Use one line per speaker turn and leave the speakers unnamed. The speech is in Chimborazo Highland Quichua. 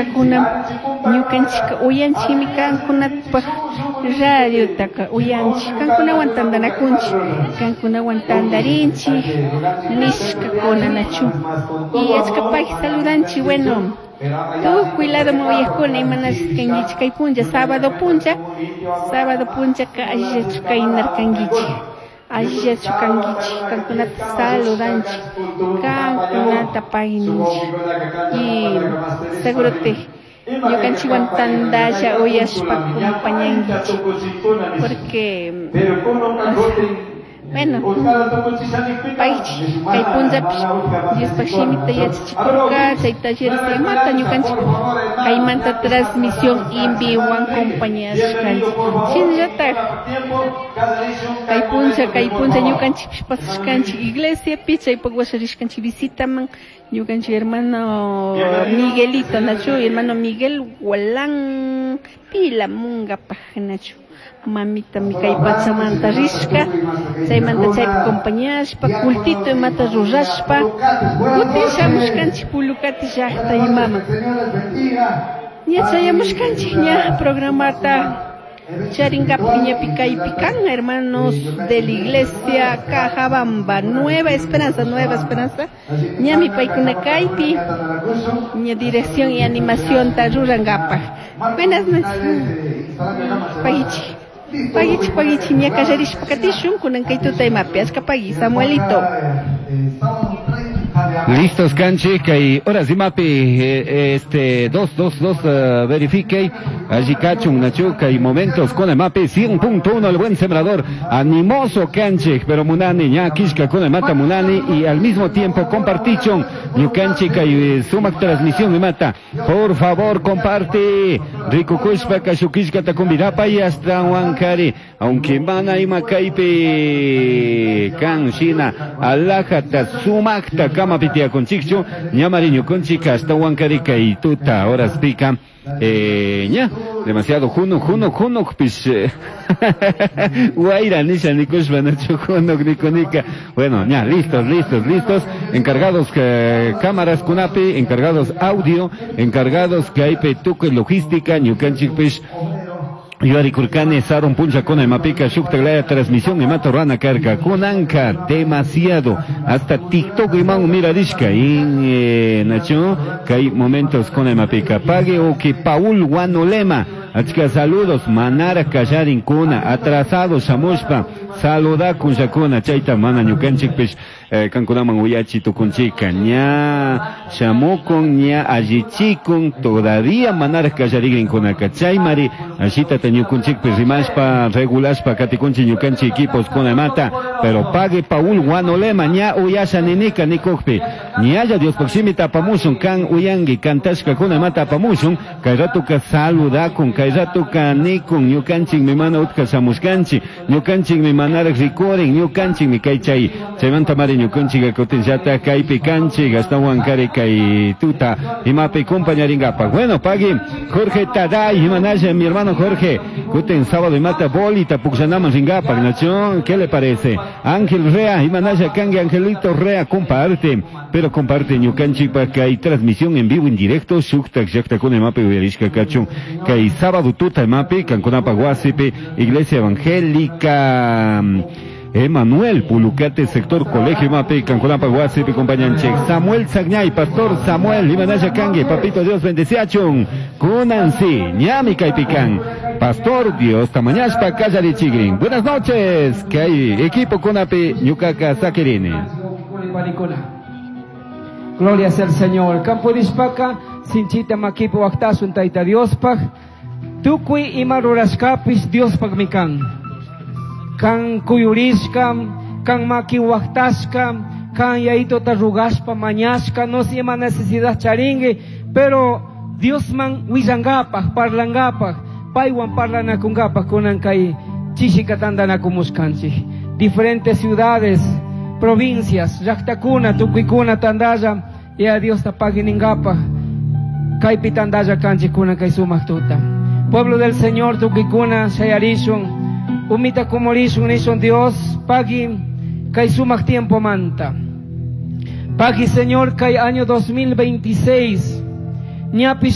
nishkakuna ñukanchikka uyanchikmi kankunapaj radiotaka uyanchik kankunawan tantanakunchik kankunawan tantarinchik nishkakuna nachu y achka paki saludanchik bueno tukuy ladoman uyakuna imanashka kankichik kay punlla sábado punlla sábado punllaka allillachu kaynarkankichik allillachu kankichik kankunata saludanchik kankunata payninchik y seguro te ñukanchikwan tantalla uyashpa acompañankichik porque bueno paychik kay punllapish Diospaj shimita yachachikurka chay talleres imata ñukanchik kaymanta transmisión en vivowan acompañashkanchik shinallatak kay punlla ñukanchikpish pasashkanchik iglesiapi chaypak washa rishkanchik visitaman ñukanchik hermano Miguelito nachu hermano Miguel Gualán Pilamungapaj nachu mamita mi kay pachamanta rishka chaymanta chaypi acompañashpa cultito imata rurashpa kutin shamushkanchik Pulukati llaqta imaman ña chayamushkanchik ña programata charinkapak ñapi kaypi kan hermanos de la iglesia Cajabamba Nueva Esperanza ñami paykuna kaypi ña dirección y animación ta rurankapak. Buenas noches. Pagichi pagichi pagichi ña kallarishpa katishun kunan kay tuta imapi achka pagi Samuelito.
Listos canchi kay horas imapi este 2 2 2 verifique allí cachun nachu kay momentos con el mapi 100.1 el buen sembrador animoso canchi pero munani ña kishka con el mata munani y al mismo tiempo compartichon ñukanchi kay sumak transmisión mata por favor comparte rico kushpa kashukishka takumbirapa y hasta huancari aunque mana ima kaypi kan shina alajata sumakta kama pitiakunchikchu ñamari ñukunchik hasta huancari kay tuta horas pica ña demasiado juno juno juno pis guaira nisha nikushpa nachu juno nikunika bueno ña listos listos listos encargados cámaras kunapi encargados audio encargados kaypi tukuy logística ñukanchikpish Yuari Kurkani, Sarun Puncha Kuna Mapika, Shuktaglaya, transmisión Imato Rana Karka, Kunanka, demasiado, hasta TikTok Imán Miradishka, in Nacho, Kai momentos con Mapika, Pague o que Paul Guanolema, Achka saludos, Manara Kayarin Kuna, atrasado Shamushpa, saluda kunshakuna, chayta mana ñukanchikpish, kankunaman uyachi tukunchika, ña shamukun, ña allichikun, todavía manara kallarigrinkunaka, chaymari, ashitata ñukunchikpish rimashpa, regulashpa, katikunchi ñukanchi equipos kunamata, pero pague Paul Guanolema, ña uyasha ninika nikukpi, ñalla Diospaj shimita apamushun, kan uyangi, kantashka kunamata apamushun, kay ratuka saludakun, kay ratuka nikun, ñukanchikmi mana utka shamushkanchik, ñukanchikmi manaraq rikurin, ñukanchikmi kay chay, chaymanta mari ñukanchik kutinllata kaypi kanchik, ashtawan kari kay tuta, imapi compañaringapaq. Bueno, pagui Jorge Taday, imanalla mi hermano Jorge, kutin sábado imata bolita pukllanaman ringapaq, Nacho, ¿qué le parece? Ángel Rea, imanalla kangi Angelito Rea, comparte, pero comparte ñukanchikpa kay transmisión en vivo en directo, shuktak llaqtakuna imapi uyarishka kachun, kay sábado tuta imapi, kankunapaq wasipi, Iglesia Evangélica Emanuel Pulucate, sector Colegio Mapi, Canconapa, Guasipi, compañanche. Samuel Sagñay, Pastor Samuel, Imanaya Kangue, Papito Dios bendeciachun, Kunansi, Ñami Caipican, Pastor Dios, Tamañashpa, Callari Chigrin. Buenas noches, que hay equipo Kunapi, Ñucaca, Saquirini.
Gloria sea al Señor. Campo Dishpaca, Sinchita Makipo, Waktasun, Taita Diospaj, Tukui ima rurashkapis Diospaj mikan. Kan kuyurishka, kan maki waktashka, kan yaito tarrugashpa mañashka, no se llama necesidad charingue, pero Dios man willangapaj, parlangapaj, paywan parlanakungapaj, kunan kay chishikatandanakumuskanchik. Diferentes ciudades, provincias, llaqtakuna, tukuykuna tandalla, y a Dios tapaginingapaj, kaypi tandalla kanchik kunan kay sumaq tuta. Pueblo del Señor, tukuykuna, shayarishun, umita kumorishun nishun Dios, pagi kay sumaq tiempo manta. Pagi Señor kay año 2026, ñapish